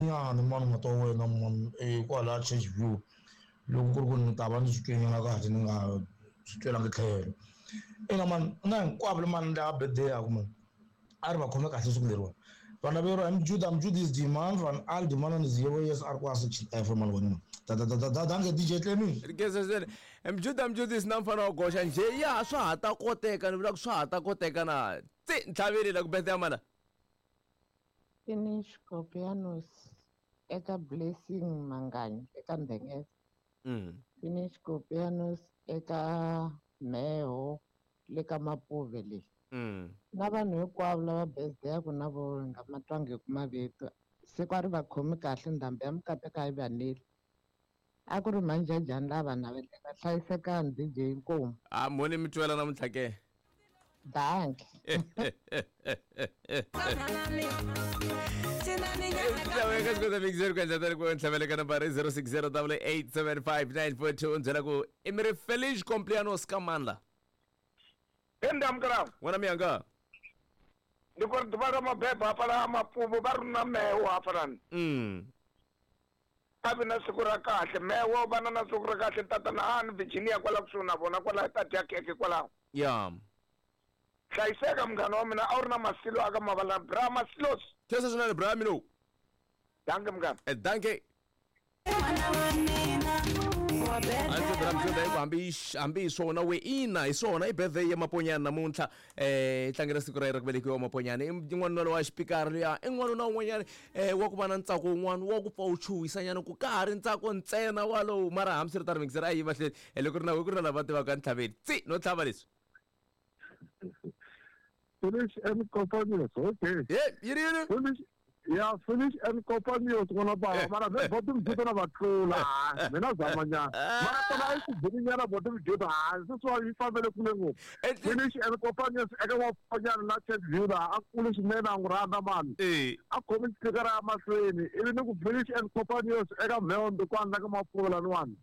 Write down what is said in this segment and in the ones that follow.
Nyana mani mata wa wena mani kwalaya Church View loko ku ri ku ni ta va ni swi twenyana kahle ni nga swi twelangi tlhelo. Ina mani na hinkwavo mani lava birthday-aku mani a ri va khome kahle siku leriwani. Vana vero I'm Jude, I'm Jude is demand van al demand ni zero yes a ri kwa section F mani wena mani. Da da da da da danke DJ Clemi. Rigeza swinene. Mjuda Mjudisi na mfana wa goxa njhe ya swa ha ta koteka ni vula ku swa ha ta koteka na tsi ntlhaveli la ku birthday ya mana. Finish Kopianos eka Blessing Manganyi eka Ndhengeza. Finish Kopianos eka Mheho le ka Mapuve le. Na vanhu hinkwavo lava birthday-aku na vo hi nga ma twangiku mavito siku a ri va khomi kahle ndhambi ya mikateko a yi va neli. A ku ri manjajani lava naveleka hlayisekani DJ inkomu. A mhoni mi twela namuntlha ke. Dankie. Eka xikoza mixer ku endla tani ku ntlhavele ka nambara i 0608875942 u byela ku i mi ri feliz cumpleaños ka mandla Endamukela n'wana miyanga ndi khou ri ḓuvha ḽa mabebo hafhaḽa Mapuvo vha ri na meo hafhaḽani a vi na siku ra kahle mewo vana na siku ra kahle tatana a ni Virginia kwala kusuhi na vona kwala ta dya khekhe kwalaho ya hlayiseka munghana wa mina a wu ri na masilo aka mavala bra masilos khensa swinene bra mino danke munghana danke a ndzi bra mjuda hi ku hambi hambi hi swona we ina hi swona i birthday ya maponyana namuntlha eh tlangela siku ra yena ra ku velekiwa maponyana i n'wanuna lowa xipikara luya i n'wanuna un'wanyana wa ku va na ntsako wun'wana wa ku pfa wu chuhisanyana ku ka ha ri ntsako ntsena walowu mara hambiswiritano mixer a yi mahlweni loko ri na ku ri na lava tivaka ntlhaveni tsi no tlhava leswi Finish and Companions, okay. Ye yini yini Finish, yeah, finish and Companions, n'wana bava. Mara ve bottom juda na va tlula. Mina zama nyana. Mara tona a yi ku bini nyana bottom juda. Ha, sweswiwa yi fambele kule ngopfu. Finish and Companions eka Mapfanyana na Church View laha a kule swinene a n'wi rhandza mani. A khomi xipikara ya mahlweni ivi ni ku Finish and Companions eka Mheho Ndukwana la ka Mapuva laniwani.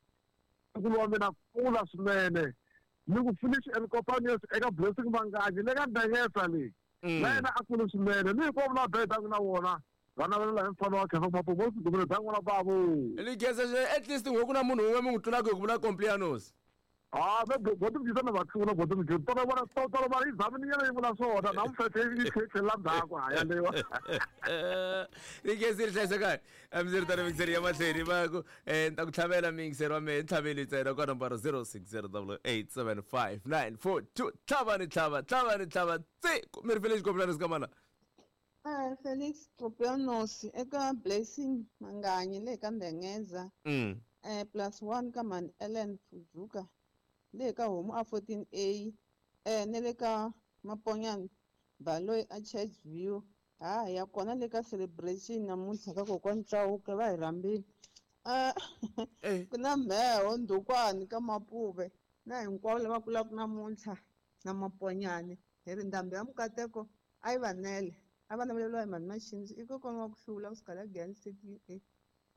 Nkulu wa mina kula swinene. Ni ku Finish and Companions eka Blessing Manganyi le ka Ndengesa leyi. Na yena a kule swinene. Ni hinkwavo lava bedaka na vona va navelela hi mfana wa Khefa Mapuva mo swigumile bya n'wana bavo. Ni khensa swinene at least n'we ku na munhu un'we mi n'wi tlulaka hi ku vula Complianos. Ah, me boti mjita na va tlula boti mjita. Tolo vona tolo mara yi zamini nyana yi vula swona na mfethe yi tlhetlhela ndzhaku ha yaleyo. Ni khensa ri hlayisekani. Hambiswiritano mixer ya mahlweni va ku ni ta ku tlhavela mixer wa mehe ntlhaveli ntsena ka nomboro 0608875942 tlhava ni tlhava tlhava ni tlhava tsi mi ri Felix Complianos ka mana. Felix Complianos eka Blessing Manganyi le ka Ndengeza. Plus 1 ka Man Ellen Fujuka le ka Homu a 14A ne le ka Maponyana Baloyi a Church View. Ha ya kona le ka celebration namuntlha ka kokwani Chauke va hi rhambile. Ku na Mheho Ndukwani ka Mapuve na hinkwavo lava kulaka namuntlha na Maponyane hi ri ndhambi ya mikateko a yi va nele a va naveleriwa hi mani Maxindzi i kokwana wa ku hlula kusuka la Giyani City A.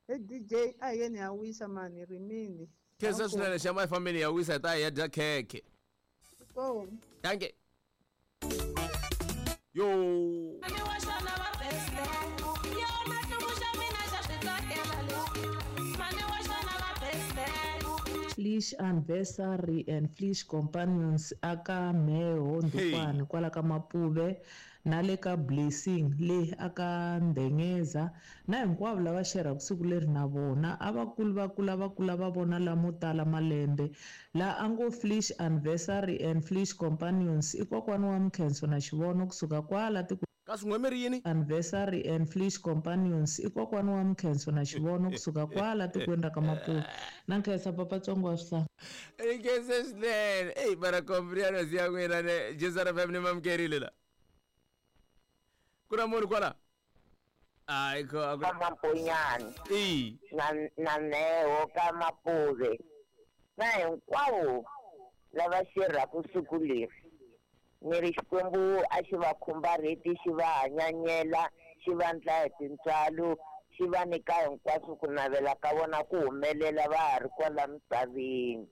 He DJ a hi yeni ya wisa mani rimini. Khensa swinene xa my family ya wisa hi ta ya dya khekhe. Inkomu. Danke. Yo. Flesh Anniversary and Flesh Companions aka Mheho Ndukwana kwala ka Mapuve na le ka Blessing le aka Ndengeza na hinkwavo lava xerhaka siku leri na vona a va kuli va kula va kula va vona lamo tala malembe la a ngo Flesh Anniversary and Flesh Companions i kokwana wa Mkhenso na Xivono kusuka kwala tikweni Kasi n'we mi ri yini? Anniversary and Flesh Companions i kokwana wa Mkhenso na Xivono kusuka kwala tikweni ra ka Mapuve. Na nkhensa papa Tsongo wa swihlanga. I nkhense swinene. Eyi mara Complianos ya n'wina ne Jesu FM ni mamukerile la. Ku na munhu kwala? Hayi kho a ku Ka Mamponyane. I. Na na Mheho ka Mapuve. Na hinkwavo lava xerhaka siku leri. Ni ri Xikwembu a xi va khumbarheti xi va hanyanyela xi va ndla hi tintswalo xi va nyika hinkwaswo ku navela ka vona ku humelela va ha ri kwala misaveni.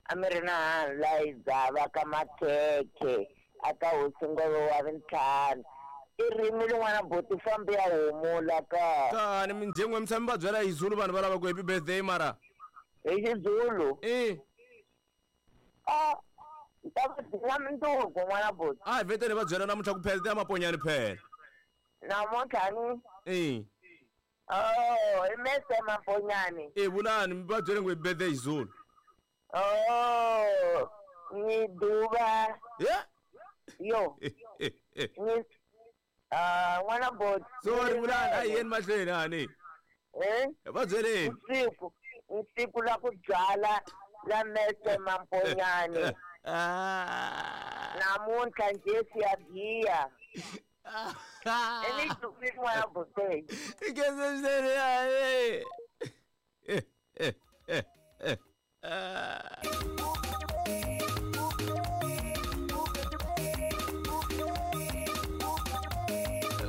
A mi ri na hanla hi dzava ka makhekhe aka hosi ngove wa vintlhanu. I ririmi rin'wana boti fambi ya humula ka. Kani minjengwe mi tshame va byela hi Zulu vanhu va lava ku happy birthday mara. Hi Xizulu. Eh. Ah, ta va byela mundzuku n'wana boti. A hi vheteni va byela namuntlha ku phela ya maponyani phela. Namuntlha ni. Eh. Oh, i mese maponyani. Eh vulani mi va byele ngo birthday hi Zulu. Oh, ni duva. Yeah. Yo. Ni ah n'wana boti. Sorry vulani a hi yeni mahlweni hani. Eh? Va byeleni. Siku, siku la ku byala la mese mamponyane. Namuntlha nje siyagiya. Eni n'wana boti. Ikeze swinene yani.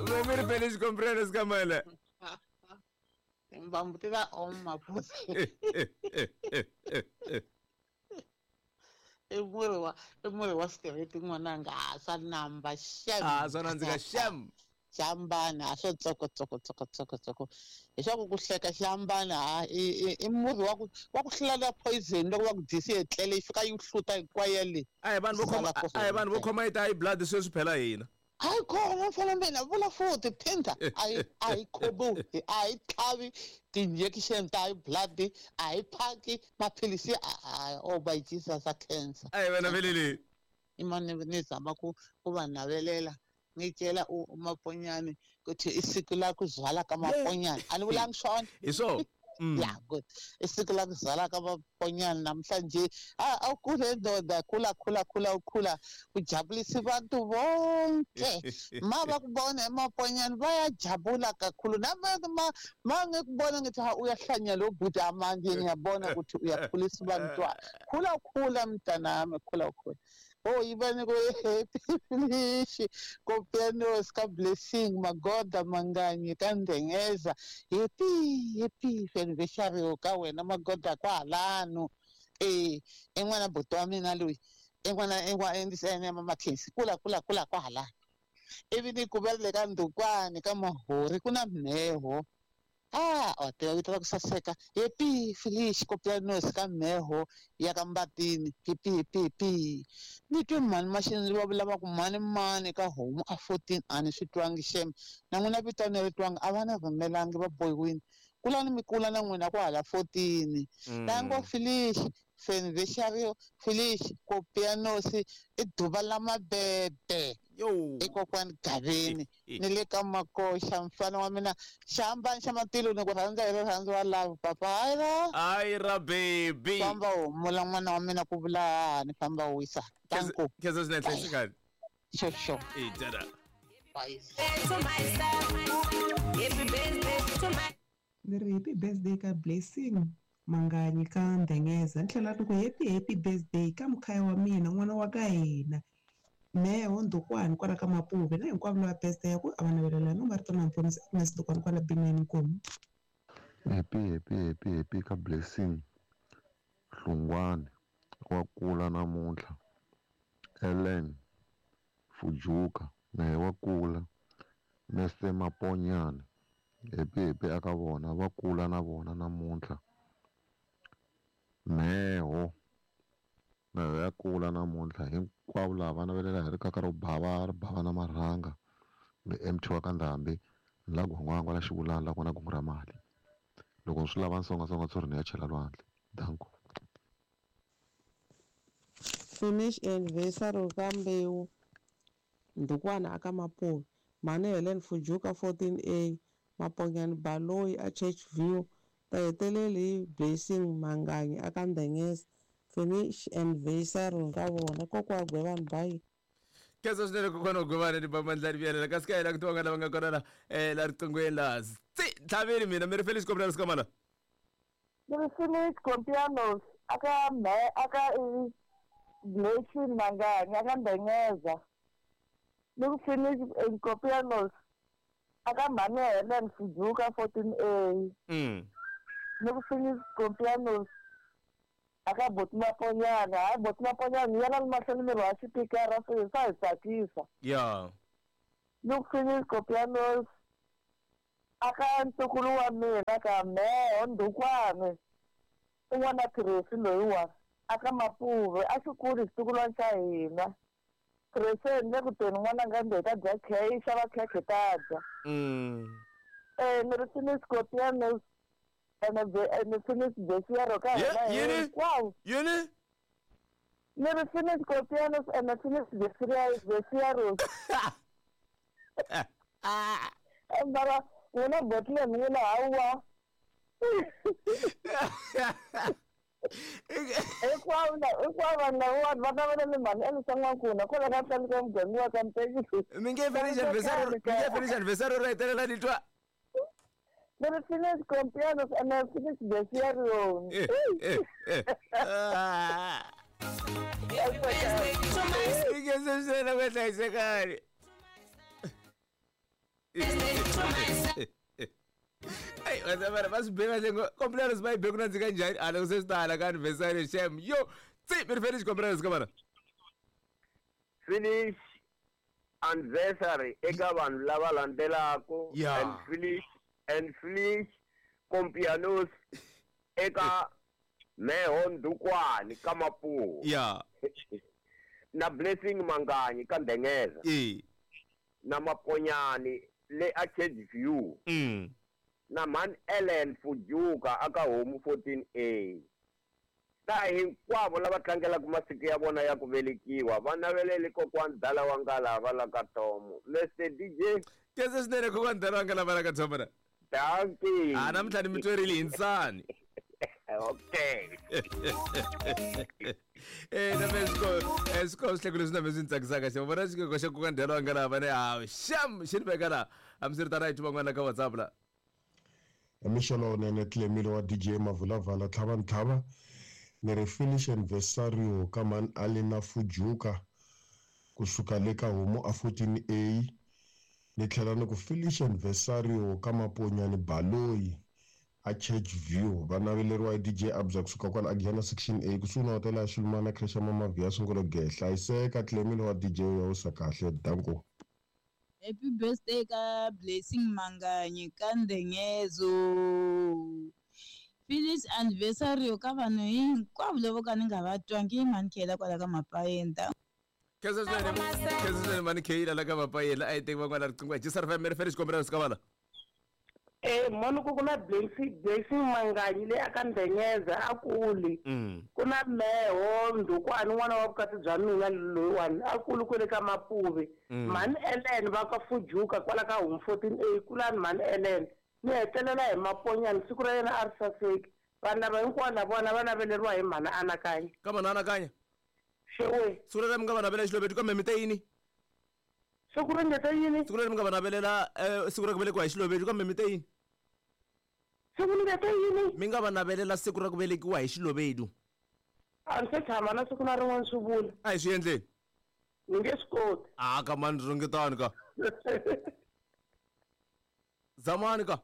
Vemiri feliz cumpleaños Kamala. Timbambu ti ta oma boti. I murhi wa straight n'wananga a swa namba xem. A swa nandzika xem. Xihambana a swo tsoko tsoko tsoko tsoko tsoko. Leswaku ku hleka xihambana ha i murhi wa ku hlula poison loko va ku dyisi etlele yi fika yi hluta hinkwayo le. A hi vanhu vo khoma yi ta high blood sweswi phela hina. A yi khoma mfana mina vula futhi phinda a yi khomiwi a yi tlhavi ti-injection ta high blood a yi phaki maphilisi oh by Jesus a cancer. A hi vana velele. I mani ni zama ku va navelela ngitshela uMaponyane ukuthi isiko la kuzwala kaMaponyane a ni vulangi swona. Hi swona. Yeah, good. Isiko la kuzala kaMaponyane namhlanje awukhule ndoda khula khula khula ukhula ujabulisa abantu bonke. Ma bakubona eMaponyane bayajabula kakhulu. Ma ngikubona ngithi ha uyahlanya lo bhuti amanje ngiyabona ukuthi uyakhulisa abantwana. Khula khula mntanami khula khula. Oh, ibani ko happy finish kopianos ka blessing magoda manganyi ka ndengeza happy happy anniversary ka wena magoda kwalano eh en'wana buti wa mina loyi en'wana en'wana mamakhensi kula kula kula kwalano ivi ni ku vele ka ndukwani ka mahori ku na mheho a tiva vito ra ku saseka happy finish kopianos ka mheho ya ka mbatini happy happy happy ni twe mhani maxini va vula va ku mhani mani ka homu a 14 a ni swi twangi xem na n'wina vito a ni ri twangi a va ni rhumelangi va bohiwini kulani mi kula na n'wina kwahala 14 tango finish anniversary finish kopianos i duva la mabebe i kokwani Gaveni ni le ka Makoxa mfana wa mina xihambani xa matilo ni ku rhandza hi rirhandzu wa love papa hayi ra baby famba humula n'wana wa mina ku vula hani famba wisa tanku khensa swinene hlayisekani xo xo e dada bye. Ni ri happy birthday ka Blessing Manganyi ka Ndengeza ni tlhela ni ku happy happy birthday ka mukhaya wa mina n'wana wa ka hina Mheho Ndukwani kwala ka Mapuve na hinkwavo lava birthday ya ku a va navelela no marito na Mponisi Agnes Ndukwani kwala Bineni Nkomu. Happy happy happy happy ka Blessing Hlungwani wa kula namuntlha Ellen Fujuka naye wa kula Mese Maponyane happy happy aka vona va kula na vona namuntlha Mheho na ya kula namuntlha hinkwavo lava va navelela hi rikaka ro bava ri bava na marhanga ni MT wa ka Ndhambi ni la gwangwangwa la xivulana la kona kungu ra mali loko swi lava nsongasonga tsori ni ya chela lwandle danko. Finish anniversary ka Mbewu Ndukwana aka Mapuve Mhani Helen Fujuka 14A Maponyane Baloyi a Church View ta heteleli hi Blessing Manganyi aka Ndengeza finish anniversary ka vona kokwa Gwevani bye. Khensa swinene kokwana Gwevani ni bamandlani vuyelela kasi ka hina ku tiva lava nga kona la la riqinghweni la tlhaveni mina mi ri Felix Kopianos Kamala. Ni ri Felix Kopianos aka me aka Blessing Manganyi aka Ndengeza ni ri Felix Kopianos aka Mhani Helen Fujuka 14A ni ri Felix Kopianos aka boti Maponyane hayi boti Maponyane yena ni mahlweni miri wa xipikara swi swa hi tsakisa ya Ni ku finish Copianos aka ntukulu wa mina ka meho Ndukwani i n'wana Tracy loyiwa aka Mapuve a xi kuli xitukulwana xa hina. Tracy ni le ku teni n'wananga ndzi hi ta dya khekhe xava khekhe ta dya. Ni ri finish Copianos ene finish Besiero ka hina hinkwavo. Yini? Ni ri finish Copianos ene finish Besiero. Mara n'wina botile n'wina hawa. Hinkwavo vanhu lavawani va navela ni mhani Elisa N'wankuna kwala ka tlhelo ka muganga wa ka Mtekisi. Mi nge finish anniversary, mi nge finish anniversary ro hetelela ni twa. Ni ri finish Copianos ene finish Besiero. Ikese swinene ku hlayisekani. Ayi wena va swi be kahle ngo compliance va yi be ku nandzika njhani a loko se swi ta hala ka anniversary shem yo tsi mi ri finish compliance ka vana. Finish anniversary eka vanhu lava landzelaka and finish Compianos eka Meho Ndukwani ka Mapuwo. Na Blessing Manganyi ka Ndengeza. Na Maponyani le a View. Na Man Ellen Fujuka aka Homu 14A. Na hinkwavo lava tlangelaka masiku ya vona ya ku velekiwa va navelele kokwani Dala wa Ngalava la ka Tomo. Mr DJ. Kese swinene kokwani Dala wa Ngalava la ka Tomo na. Dankie. A namuntlha ni mi twerile hi nsani. Okay. Na swiko swihleko leswi na swi ni tsakisaka xa vona xikoko xa kokwani Dala wa Ngalava ne hawu xam xi ni veka laha hambiswiritano a hi twi van'wana ka WhatsApp la. Mixo lowunene Tlemile wa DJ Mavulavala tlhava ntlhava ni ri finish anniversario ka man Alina Fujuka kusuka le ka Homu a 14A ni tlhela ni ku finish anniversario ka Maponyani Baloyi a Church View va naveleriwa hi DJ Abza kusuka kwala Agiana section A kusuhi na hotela ya Xilumana creche ya Mama Via Sungolo Ge hlayiseka Tlemile wa DJ ya usa kahle danko. Happy birthday ka Blessing Manganyi ka Ndengezo. Finish anniversary ka vanhu hinkwavo lavo ka ni nga va twangi mhani Khela kwala ka Mapayenta. Khensa swinene mhani Khela la ka Mapayela a hi teki van'wana riqingho hi Jisar FM ri finish kombela sika vala. Moni ku na Blessing Manganyi leyi aka Ndengeza a kuli. Ku na Meho Ndukwani n'wana wa vukati bya mina loyiwani a kuli kwele ka Mapuve. Mhani Ellen va ka Fujuka kwala ka Home 14A kulani mhani Ellen. Ni hetelela hi Maponyani siku ra yena a ri saseki. Vanhu lava hinkwavo na vona va naveleriwa hi mhani Anakanya. Ka mhani Anakanya? Xewe. Siku leri mi nga va navelela xilovetu kambe mi te yini? Siku ri nge te yini? Siku leri mi nga va navelela siku ra ku velekiwa hi xilovetu kambe mi te yini? Siku ni nge te yini? Mi nga va navelela siku ra ku velekiwa hi xilovedu. A ni se tshama na siku na rin'wana swi vula. A hi swi endleni. Ni nge swi koti. A ka mani ringetani ka. Zamani ka.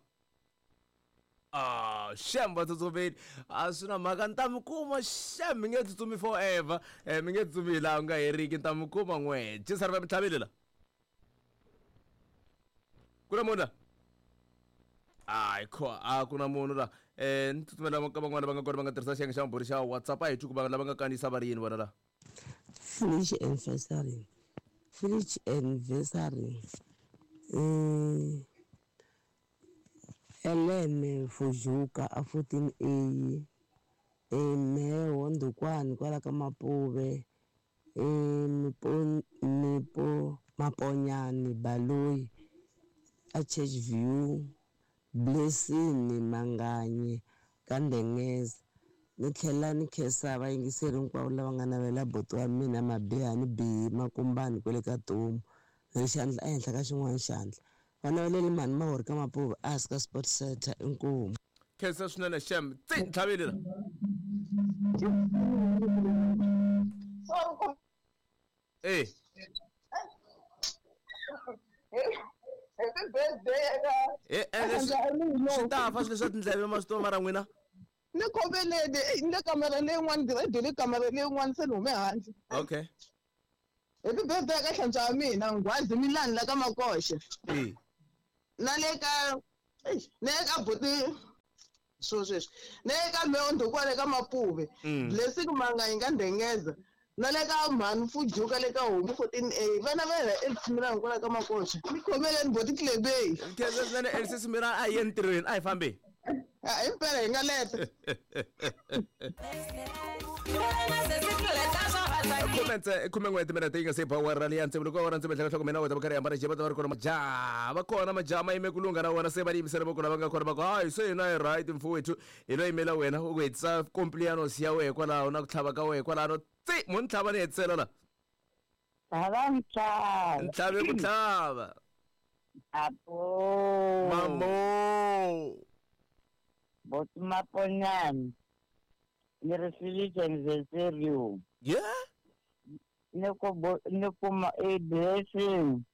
Shem va tsutsumile a swi na mhaka ni ta mi kuma shem mi nge tsutsumi forever mi nge tsutsumi hi laha u nga heriki ni ta mi kuma n'we Jisar va mi tlhavile la ku na munhu la hayi kho a ku na munhu la ni tsutsumela ka van'wana va nga kona va nga tirhisa xiyenge xa maburi xa WhatsApp a hi twi ku va lava nga kandziyisa va ri yini vona la. Finish anniversary. Finish anniversary. Ellen Fujuka a 14A Meho Ndukwani kwala ka Mapuve Maponyani Baloyi a Church View Blessing Manganyi ka Ndengeza. Ni tlhela ni khensa vayingiseri hinkwavo lava nga navela buti wa mina Mabihani Bihi Makumbani kwele ka Tomu ri xandla ehenhla ka xin'wana xandla. Va naveleli mhani Mahori ka Mapuve a hansi ka Sport Center inkomu. Khensa swinene shem tsi ntlhavile la. Happy birthday eka Swi ta fa swilo leswa tindleve ma swi tiva mara n'wina. Ni khomeleni ni le kamera leyin'wana ni le kamera leyin'wana se ni hume handle. Okay. Happy birthday ka hlantswa wa mina Nghwazi Milani la ka Makoxe. Na le ka na le ka buti swo sweswi. Na le ka Meo Ndukwana ka Mapuve. Blessing Manganyi ka Ndengeza. Na le ka Mhani Fujuka le ka Homu 14A. Vana va yena Elsie kwala ka Makoxe. Mi khomeleni boti Klebei. Khensa swinene Elsie Simirani a hi yeni ntirhweni a hi fambi. Impela hi nga leta. Khumen'we timinete yi nga se ba awara leyi ya tsevu loko awara tsevu hloko mina wena va karhi hambana va ta va ri kona majaha va kona majaha ma yime ku lungha na wona se va yimisela voko lava nga kona va ku hayi se hina hi right mfowethu hi lo yimela wena u ku hetisa complianos ya wehe kwalaho na ku tlhava ka wehe kwalano tsi mo ni tlhava ni hetisela la Tlhava ntlhava. Ntlhave ku tlhava. Apo. Mamo. Boti Maponyane. Ni ri feliz anniversario. Yeah. Ni ku ni kuma i blessing.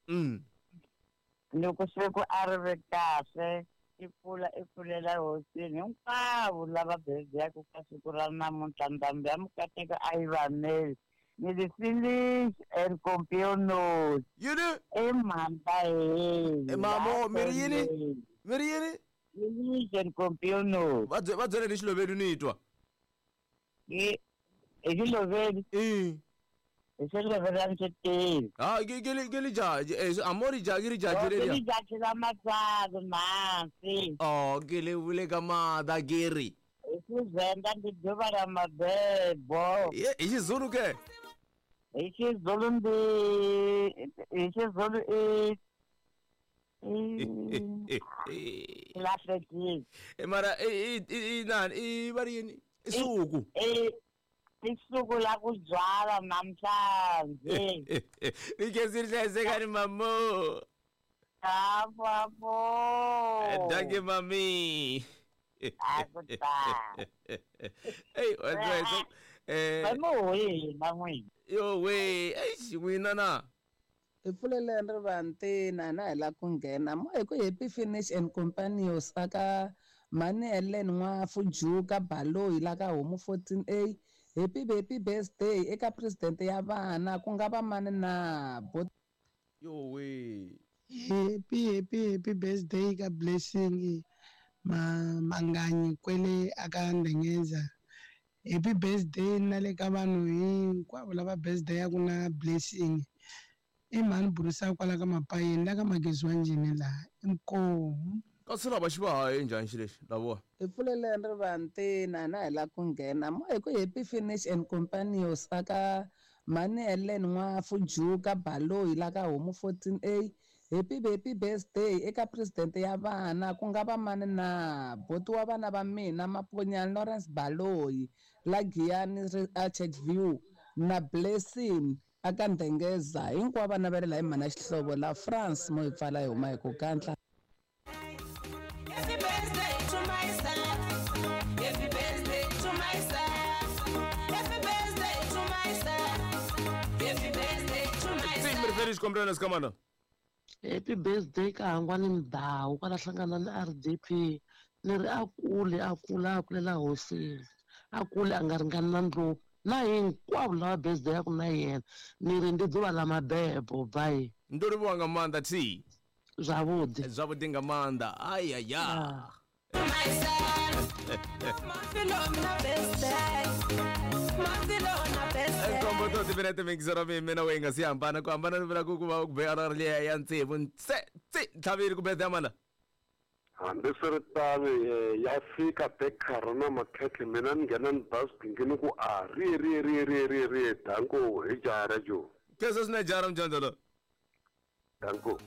Ni ku siku a ri vi kahle i pfula i pfulela hosini hinkwavo lava birthday-aku ka siku ra namuntlha ndhambi ya mukateko a yi vameli ni ri finish and compionos yini i mhamba heli Mamo mi ri yini mi ri yini finish and compionos va va byele ni xiloveli ni twa hi xiloveli i hi xiloveli a ni swi tivi ha ke ke le ke le jaji eh a mo ri jaji ri jaji le ke jaji la matsalo masi oh ke le vule ka mada ke ri hi Xivenda ndi ḓuvha la mabebo ye hi Xizulu ke hi Xizulu ndi hi Xizulu i lahlekile mara i nani i va ri yini i suku i suku la ku byala namhlanje ni khensi ri hlayisekani mamo apo apo danke mami akutani eyi va na n'wina yo we eish n'wina na hi pfuleleni rivantina na hi la ku nghena mo hi ku happy finish and companios aka mhani Ellen N'wafu Juka Baloyi la ka Homu 14A happy happy birthday eka president ya vana ku nga va mani na bot yo we happy happy happy birthday ka Blessing Manganyi kwele aka Ndengeza happy birthday na le ka vanhu hinkwavo lava birthday ya ku na Blessing i mhani burisa kwala ka Mapayeni la ka Magezi wa njhini laha inkomu kasi lava xi va haye njhani xi lexi lavowa hi pfuleleni rivantina na hi la ku nghena mo hi ku happy finish and companios aka mhani Ellen N'wafu Juka Baloyi la ka Homu 14A happy happy birthday eka president ya vana ku nga va mani na boti wa vana va mina Maponyani Lawrence Baloyi la Giyani a Churchview na Blessing aka Ndengeza hinkwavo vana va ri la hi mhana Xihlovo la France mo hi pfala hi huma hi ku kantla. Happy birthday to myself. Happy birthday to myself. Happy birthday to myself. Happy birthday to myself. Mi ri feliz cumpleaños kamana Happy birthday ka Hangwani Mdawu kwala hlangana na RDP ni ri a kule a kula a kulela hosini a kule a nga ringani na ndlopfu na hinkwavo lava birthday ya ku na yena ni ri ndi ḓuvha ḽa mabebo bye ndo livhuwa nga maanḓa thi zwavhuḓi zwavhuḓi nga maanḓa ayaya nkombo to timinete mingisero mi mina we nga si hambana ku hambana ni vula ku va ku be awara liya ya tsevu tse tsi ntlhavile ku birthday mana hambiswiritano ya fika bekara na makhekhe mina ni nghena ni basking ni ku a ri ri ri ri ri ri danko hi jara jo khensa swinene jara mjondzolo danko.